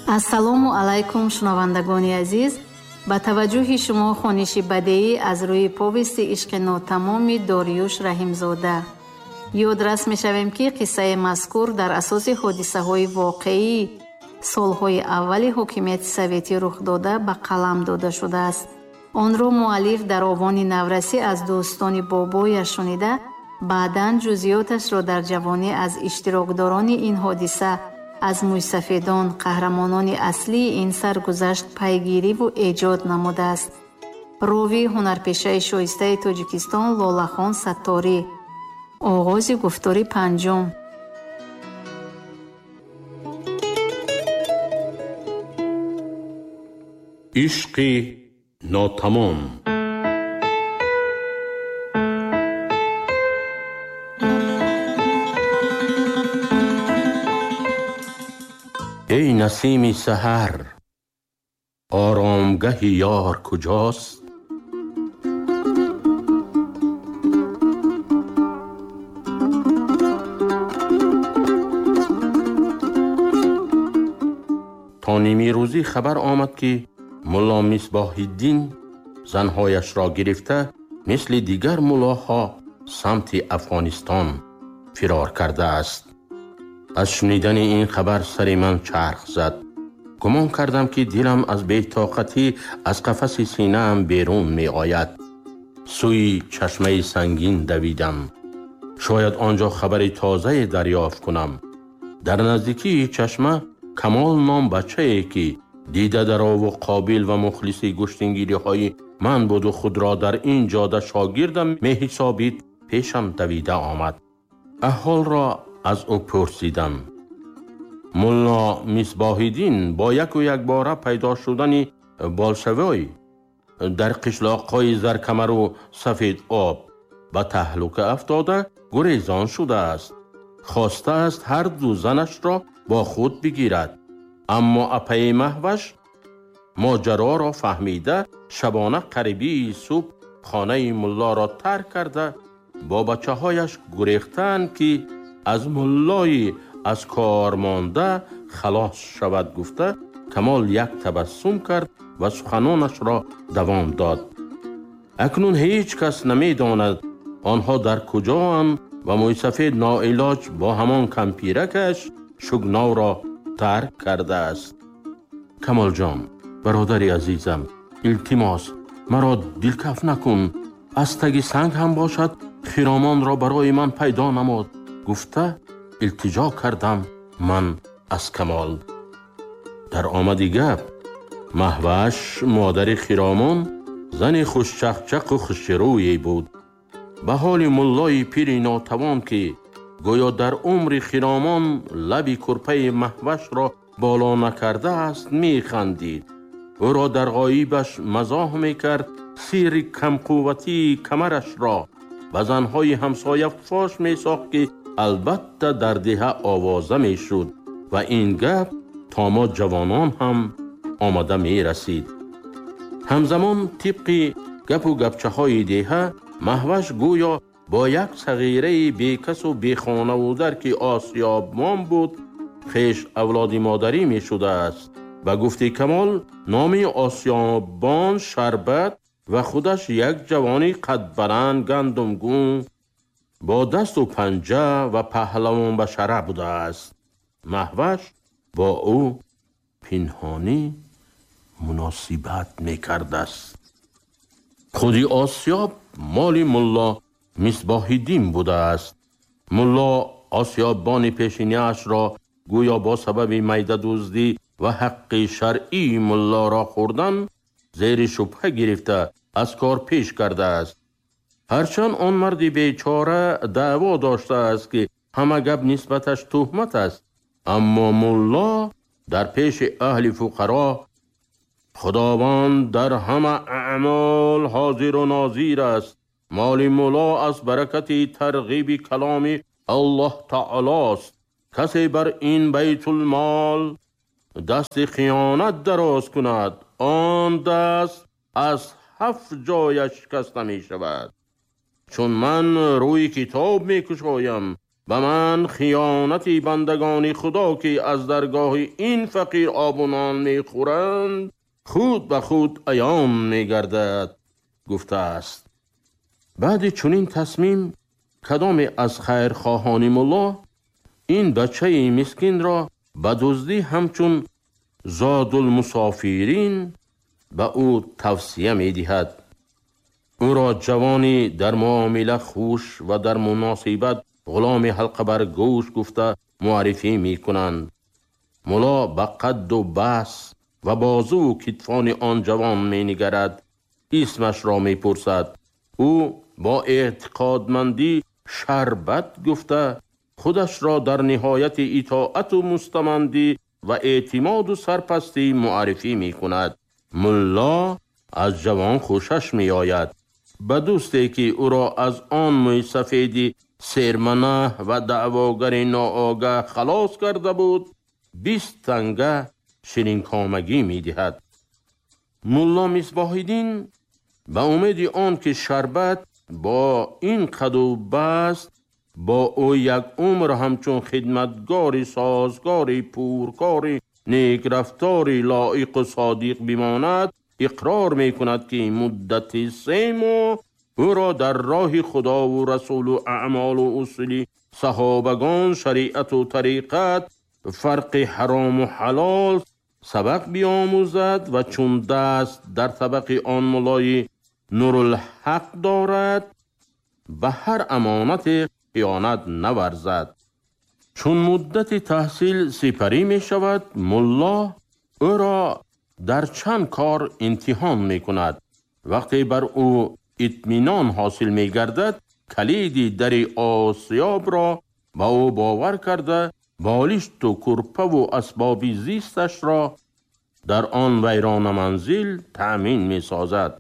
Ассалому алайкум, шунавандагони азиз. Ба таваҷҷӯҳи шумо хониши бадеӣ аз рӯи повести ишқи нотамоми Дориюш Раҳимзода. Ёдрас мешавем, ки қиссаи мазкур дар асоси ҳодисаҳои воқеӣ солҳои аввали ҳокимияти советӣ рух дода ба қалам дода шудааст. Онро муаллиф дар овони наврасӣ аз дӯстони бобояш шунида, баъдан ҷузъиёташро дар ҷавонӣ аз иштирокдорони ин ҳодиса, аз мӯйсафедон, қаҳрамонони аслии ин саргузашт пайгириву эҷод намудааст. Ровии ҳунарпешаи шоистаи Тоҷикистон Лолахон Сатторӣ. Оғози гуфтори панҷум. Ишқи нотамом. Эй насими саҳар, оромгаҳи ёр куҷост? То нимирӯзӣ хабар омад, ки мулло Мисбоҳиддин занҳояшро гирифта мисли дигар муллоҳо самти Афғонистон фирор кардааст. Аз шунидани ин хабар сари ман чарх зад. Гумон кардам, ки дилам аз бетоқатӣ аз қафаси синаам берун меояд. Сӯи чашмаи сангин давидам. Шояд он ҷо хабари тозае дарёфт кунам. Дар наздикии чашма Камол ном бачае, ки дидадарову қобил ва мухлиси гӯштингириҳои ман буду худро дар ин ҷода шогирдам меҳисобид, пешам давида омад. Аҳволро аз ӯ пурсидам. Мулло Мисбоҳиддин бо яку якбора пайдо шудани болшевой дар қишлоқҳои Заркамару Сафед об ба таҳлука афтода гурезон шудааст. Хостааст ҳар ду занашро бо худ бигирад, аммо апаи Маҳваш моҷароро фаҳмида шабона қарибии субҳ хонаи муллоро тарк карда бо бачаҳояш гурехтаанд, ки аз муллои аз кор монда халос шавад, гуфта Камол як табассум кард ва суханонашро давом дод. Акнун ҳеҷ кас намедонад онҳо дар куҷоанд ва мӯйсафед ноилоҷ бо ҳамон кампиракаш Шугновро тарк кардааст. Камолҷон, бародари азизам, илтимос, маро дилкаф накун. Аз таги санг ҳам бошад хиромонро барои ман пайдо намод, гуфта илтиҷо кардам ман аз Камол. Дар омади гап Маҳваш, модари хиромон, зани хушчақчақу хушрӯе буд. Ба ҳоли муллои пири нотавон, ки гӯё дар умри хиромон лаби курпаи Маҳвашро боло накардааст, механдид. Ӯро дар ғоибаш мазоҳ мекард, сирри камқувватии камарашро ба занҳои ҳамсоя фош месохт, ки албатта дар деҳа овоза мешуд ва ин гап то мо ҷавонон ҳам омада мерасид. Ҳамзамон тибқи гапу гапчаҳои деҳа Маҳваш гӯё бо як сағираи бекасу бехонаву дар, ки осиёбмон буд, хеш авлоди модарӣ мешудааст. Ба гуфти Камол номи осиёббон Шарбат ва худаш як ҷавони қадбаланд, гандумгун, бо дасту панҷа ва паҳлавонбашара будааст. Маҳваш бо ӯ пинҳонӣ муносибат мекардааст. Худи осиёб моли мулло Мисбоҳиддин будааст. Мулло осиёббони пешинаашро гӯё бо сабаби майдадуздӣ ва ҳаққи шаръии муллоро хӯрдан зери шубҳа гирифта аз кор пеш кардааст. Ҳарчанд он марди бечора даъво доштааст, ки ҳама гап нисбаташ туҳмат аст, аммо мулло дар пеши аҳли фуқаро Худованд дар ҳама аъмол ҳозиру нозир аст. Моли мулло аз баракати тарғиби каломи Аллоҳ таолост. Касе бар ин байтулмол дасти хиёнат дароз кунад, он даст аз ҳафт ҷояш шикаста мешавад. Чун ман рӯи китоб мекушоям, Ба ман хиёнати бандагони Худо, ки аз даргоҳи ин фақир об ва нон мехӯранд, худ ба худ аён мегардад, гуфтааст. Баъди чунин тасмим кадоме аз хайрхоҳони мулло ин бачаи мискинро ба дуздӣ ҳамчун зодулмусофирин ба ӯ тавсия медиҳад. Ӯро ҷавони дар муомила хуш ва дар муносибат ғуломи ҳалқа бар гӯш гуфта муаррифӣ мекунанд. Мулло ба қадду бас ва бозуву китфони он ҷавон менигарад, исмашро мепурсад. Ӯ бо эътиқодмандӣ Шарбат гуфта худашро дар ниҳояти итоату мустамандӣ ва эътимоду сарпастӣ муаррифӣ мекунад. Мулло аз ҷавон хушаш меояд. Ба дӯсте ки ӯро аз он мӯйсафеди серманаҳ ва даъвогари ноогаҳ халос карда буд, 20 танга ширинкомагӣ медиҳад. Мулло Мисбоҳиддин ба умеди он ки Шарбат бо ин қаду баст бо ӯ як умр ҳамчун хидматгори созгори пуркори некрафтори лоиқу содиқ бимонад, иқрор мекунад, ки муддати 3 моҳ ӯро дар роҳи Худову Расулу аъмолу усули саҳобагон, шариату тариқат, фарқи ҳарому ҳалол сабақ биомӯзад ва чун даст дар табақи он муллои Нурулҳақ дорад, ба ҳар амонате хиёнат наварзад. Чун муддати таҳсил сипарӣ мешавад, мулло ӯро дар чанд кор имтиҳон мекунад. Вақте бар ӯ итминон ҳосил мегардад, калиди дари осиёбро ба ӯ бовар карда, болишту курпаву асбоби зисташро дар он вайрона манзил таъмин месозад.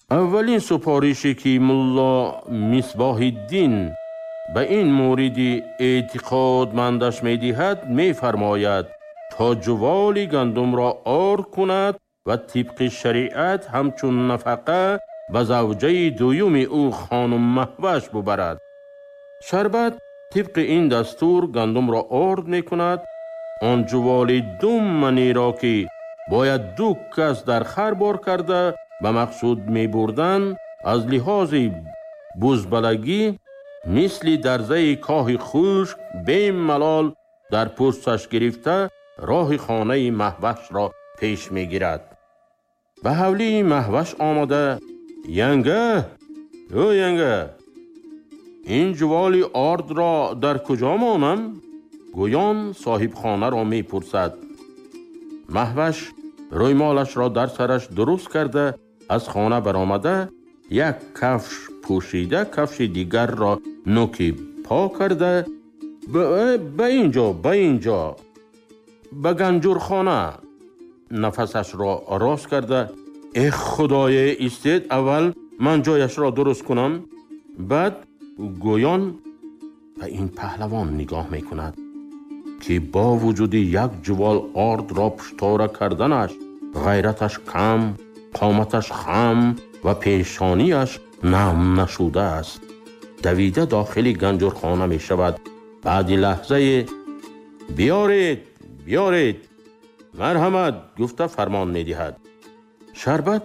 Аввалин супорише ки мулло Мисбоҳиддин ба ин муриди эътиқодмандаш медиҳад, мефармояд то ҷуволи гандумро ор кунад ва тибқи шариат ҳамчун нафақа ба завҷаи дуюми ӯ хонум Маҳваш бубарад. Шарбат тибқи ин дастур гандумро орд мекунад. Он ҷуволи 2 маниро, ки бояд 2 кас дар хар бор карда ба мақсуд мебурданд, аз лиҳози бузбалагӣ мисли дарзаи коҳи хушк бемалол дар пӯсташ гирифта роҳи хонаи Маҳвашро пеш мегирад. Ба ҳавлии Маҳваш омада: «Янга, ӯ янга, ин ҷуволи ордро дар куҷо монам?» гӯён соҳибхонаро мепурсад. Маҳваш рӯймолашро дар сараш дуруст карда аз хона баромада, як кафш пӯшида, кафши дигарро нӯки по карда, ба инҷо, ба инҷо, ба ганҷурхона нафасашро рост карда: «Эх худое, истед, аввал ман ҷояшро дуруст кунам». Баъд гӯён ба ин паҳлавон нигоҳ мекунад, ки бо вуҷуди як ҷувол ордро пуштора карданаш ғайраташ кам, қоматаш хам ва пешонияш нам нашудааст. Давида дохили ганҷурхона мешавад. Баъди лаҳзае: «Биёред, биёред, марҳамат», гуфта фармон медиҳад. Шарбат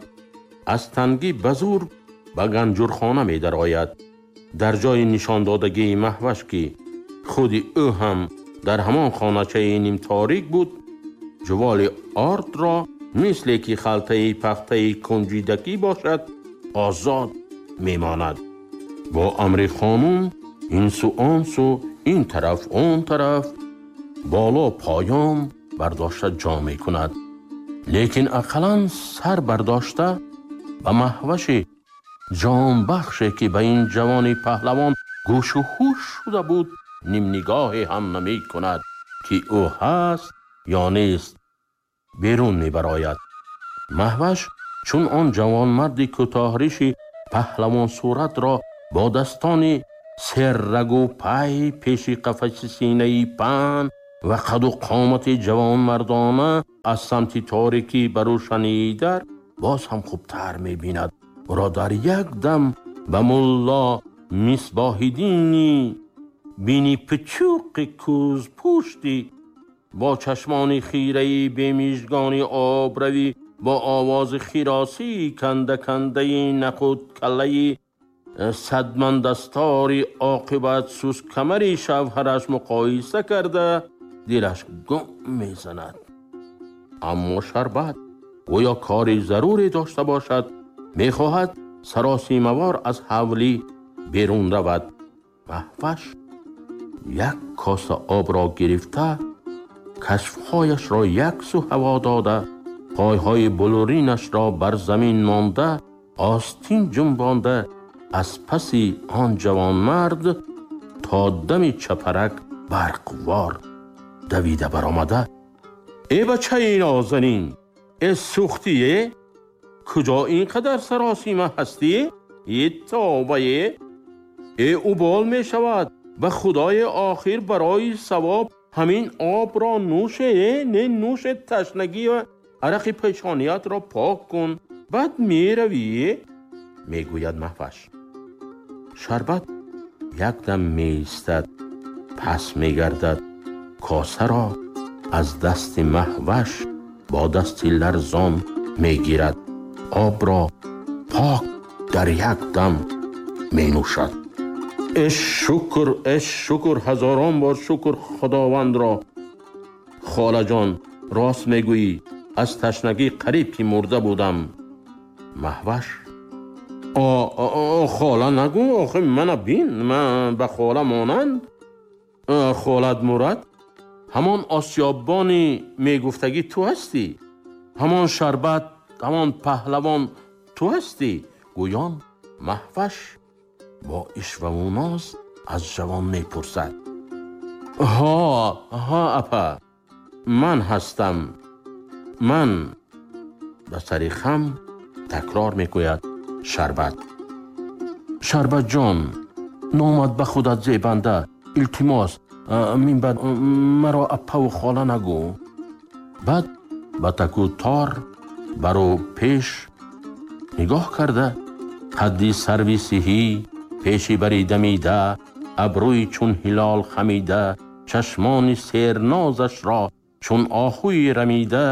аз тангӣ ба зур ба ганҷурхона медарояд. Дар ҷои нишондодагии Маҳваш, ки худи ӯ ҳам дар ҳамон хоначаи нимторик буд, ҷуволи ордро мисле ки халтаи пахтаи кунҷидакӣ бошад, озод мемонад. Бо амри хонум ин су он су, ин тараф он тараф, боло поён бардошта ҷо мекунад. Лекин ақаллан сар бардошта ба Маҳваши ҷонбахше, ки ба ин ҷавони паҳлавон гӯшу ҳуш шуда буд, нимнигоҳе ҳам намекунад, ки ӯ ҳаст ё нест. Берун мебарояд. Маҳваш чун он ҷавонмарди кӯтоҳриши паҳлавонсуратро бо дастони серрагу пай пеши қафаси синаи паҳн ва қаду қомати ҷавонмардона аз самти торикӣ ба рӯшании дар боз ҳам хубтар мебинад. Ӯро дар як дам ба мулло Мисбоҳиддини бини пичуқи кӯзпӯшти бо чашмони хираи бемижгони обравӣ бо овози хиросии канда-кандаи нақуд-каллаи садмандастори оқибат сускамари шавҳараш муқоиса карда дилаш гум мезанад. Аммо Шарбат гӯё кори заруре дошта бошад, мехоҳад саросимавор аз ҳавлӣ берун равад. Маҳваш як коса обро гирифта, кашфҳояшро як сӯ ҳаво дода, пойҳои булуринашро бар замин монда, остин ҷунбонда, аз паси он ҷавонмард то дами чапарак барқвор давида баромада: «Э бачаи нозанин, э сӯхтие, куҷо ин қадар саросима ҳастӣ? Е тобае, э убол мешавад, ба худои охир барои савоб ҳамин обро нӯше, не нӯше, ташнагӣ ва арақи пешониятро пок кун, баъд меравӣ», мегӯяд Маҳваш. Шарбат якдам меистад, пас мегардад, косаро аз дасти Маҳваш бо дасти ларзон мегирад, обро пок дар як дам менӯшад. Э шукр, э шукр, ҳазорон бор шукр Худовандро. Холаҷон, рост мегӯӣ, аз ташнагӣ қариб ки мурда будам. Маҳваш: Хола нагӯ, охи мана бин, ман ба хола монанд. Холат мурад, ҳамон осиёббони мегуфтагӣ ту ҳастӣ, ҳамон Шарбат, ҳамон паҳлавон ту ҳастӣ, гӯён Маҳваш бо ишваву ноз аз ҷавон мепурсад. Ҳа, ҳа, апа, ман ҳастам, ман, ба сари хам такрор мекӯяд Шарбат. Шарбатҷон, номат ба худат зебанда, илтимос, минбаъд маро аппаву хола нагӯ. Баъд ба таку тор бару пеш нигоҳ карда, қадди сарви сиҳӣ, пеши бари дамида, абрӯи чун ҳилол хамида, чашмони сернозашро чун оҳуи рамида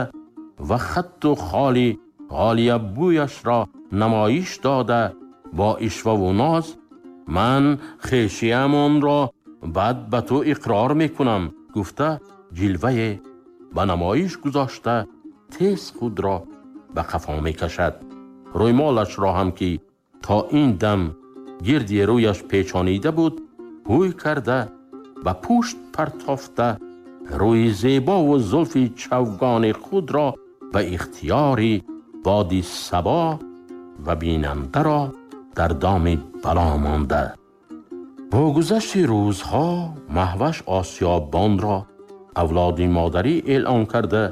ва хатту холи ғолиябӯяшро намоиш дода бо ишваву ноз: «Ман хешиямонро баъд ба ту иқрор мекунам», гуфта ҷилвае ба намоиш гузошта тез худро ба қафо мекашад. Рӯймолашро ҳам ки то ин дам гирди рӯяш печонида буд, ҳӯй карда ба пушт партофта, рӯи зебову зулфи чавгони худро ба ихтиёри боди сабо ва бинандаро дар доми бало монда. Бо гузашти рӯзҳо Маҳваш осиёббонро авлоди модарӣ эълон карда,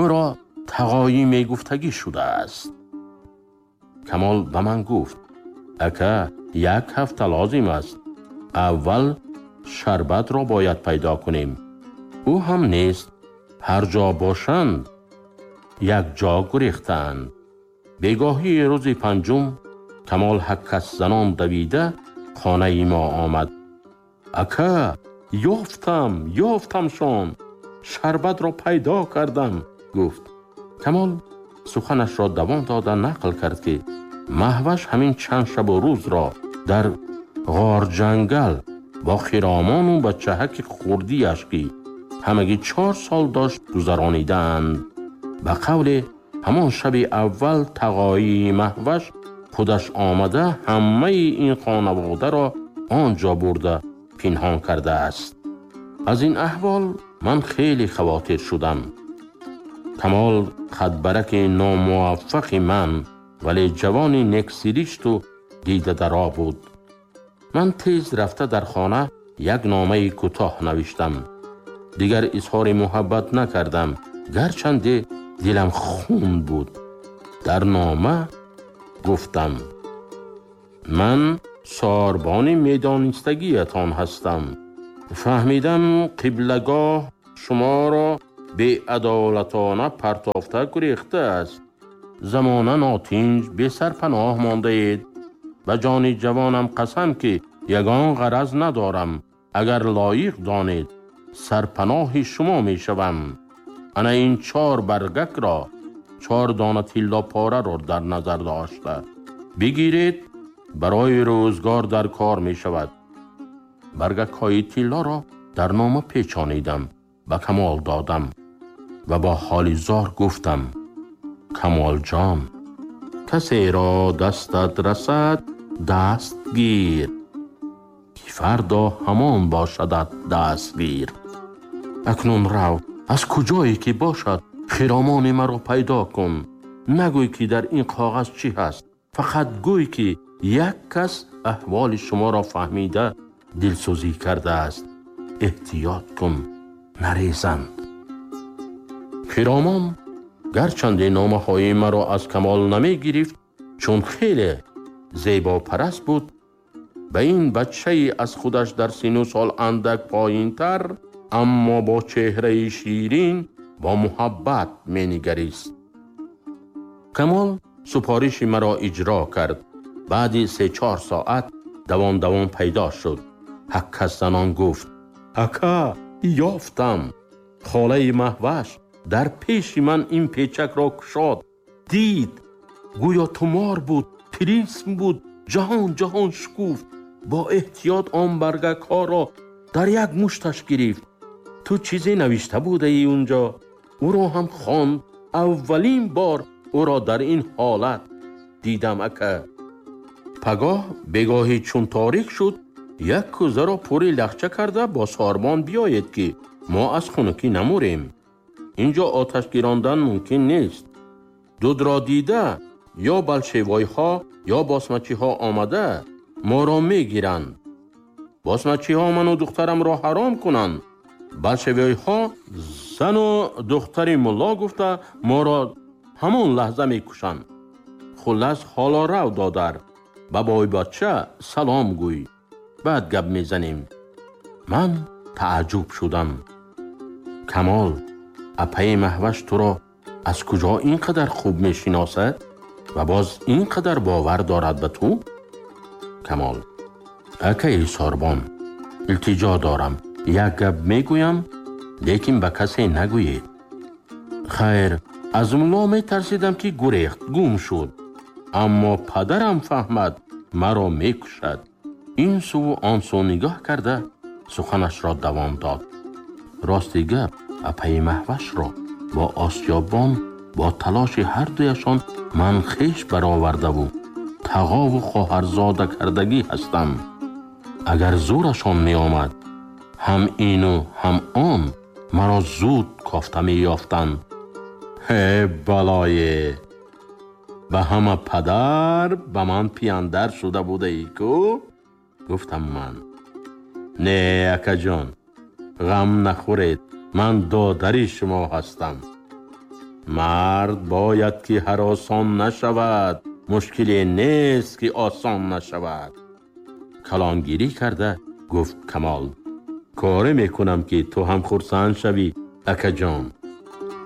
ӯро тағоӣ мегуфтагӣ шудааст. Камол ба ман гуфт: «Ака, як ҳафта лозим аст. Аввал Шарбатро бояд пайдо кунем. Ӯ ҳам нест. Ҳар ҷо бошанд, як ҷо гурехтаанд». Бегоҳии рӯзи панҷум Камол ҳаккасзанон давида хонаи мо омад. «Ака, ёфтам, ёфтамшон, Шарбатро пайдо кардам», гуфт. Камол суханашро давом дода нақл кард, ки Маҳваш ҳамин чанд шабу рӯзро дар ғорҷангал бо хиромону бачаҳаки хурдиаш, ки ҳамагӣ 4 сол дошт, гузаронидаанд. Ба қавле ҳамон шаби аввал тағоии Маҳваш худаш омада ҳамаи ин хонаводаро он ҷо бурда пинҳон кардааст. Аз ин аҳвол ман хеле хавотир шудам. Камол хатбараки номуваффақи ман, вале ҷавони нексиришту дидадаро буд. Ман тез рафта дар хона як номаи кӯтоҳ навиштам. Дигар изҳори муҳаббат накардам, гарчанде дилам хун буд. Дар нома гуфтам: ман сорбони медонистагиятон ҳастам. Фаҳмидам қиблагоҳ шуморо беадолатона партофта гурехтааст. Замона нотинҷ, бесарпаноҳ мондаед. Ба ҷони ҷавонам қасам, ки ягон ғараз надорам. Агар лоиқ донед, сарпаноҳи шумо мешавам. Ана ин 4 баргакро, 4 дона тиллопораро дар назар дошта бигиред, барои рӯзгор дар кор мешавад. Баргакҳои тиллоро дар нома печонидам, ба Камол додам ва бо ҳоли зор гуфтам: Камолҷон, касеро дастат расад даст гир, ки фардо ҳамон бошадат дастгир. Акнун рав, аз куҷое ки бошад хиромони маро пайдо кун. Нагӯй ки дар ин коғаз чӣ ҳаст, фақат гӯй ки як кас аҳволи шуморо фаҳмида дилсӯзӣ кардааст. Эҳтиёт кун, нарезанд. Хиромон гарчанде номаҳои маро аз Камол намегирифт, чун хеле зебопараст буд, ба ин бачаи аз худаш дар сину сол андак поинтар, аммо бо чеҳраи ширин бо муҳаббат менигарист. Камол супориши маро иҷро кард. Баъди 3-4 соат давон-давон пайдо шуд. Ҳаккас занон гуфт: ака, ёфтам. Холаи Маҳваш дар пеши ман ин печакро кушод. Дид, гӯё тумор буд, тилисм буд, ҷаҳон ҷаҳон шукуфт. Бо эҳтиёт он баргакҳоро дар як мушташ гирифт. Ту чизе навишта будаӣ унҷо. Ӯро ҳам хонд. Аввалин бор ӯро дар ин ҳолат дидам, ака. Пагоҳ бегоҳӣ чун торик шуд, як кӯзаро пури лахча карда бо сорбон биёед, ки мо аз хунукӣ намурем. Инҷо оташ гирондан мумкин нест. Дудро дида ё болшевойҳо ё босмачиҳо омада моро мегиранд. Босмачиҳо ману духтарамро ҳаром кунанд. Болшевойҳо зану духтари мулло гуфта моро ҳамон лаҳза мекушанд. Хуллас, ҳоло рав, додар, ба бойбача салом гӯй, баъд гап мезанем. Ман тааҷҷуб шудам. Камол, апаи Маҳваш туро аз куҷо ин қадар хуб мешиносад ва боз ин қадар бовар дорад ба ту? Камол: акаи сорбон, илтиҷо дорам, як гап мегӯям, лекин ба касе нагӯед. Хайр, аз мулло метарсидам, ки гурехт, гум шуд. Аммо падарам фаҳмад, маро мекушад. Ин суву он су нигоҳ карда суханашро давом дод. Рости гап, апаи Маҳвашро бо осиёбон бо талоши ҳардуяшон ман хеш баровардаву тағову хоҳарзода кардагӣ ҳастам. Агар зӯрашон меомад, ҳам ину ҳам он маро зуд кофта меёфтанд. Ҳе балое! Ба ҳама падар ба ман пияндар шуда будаӣ ку? Гуфтам ман. Не, акаҷон, ғам нахӯред, ман додари шумо ҳастам. Мард бояд ки ҳаросон нашавад, мушкиле нест ки осон нашавад. Калонгирӣ карда гуфт Камол: коре мекунам, ки ту ҳам хурсанд шавӣ, акаҷон.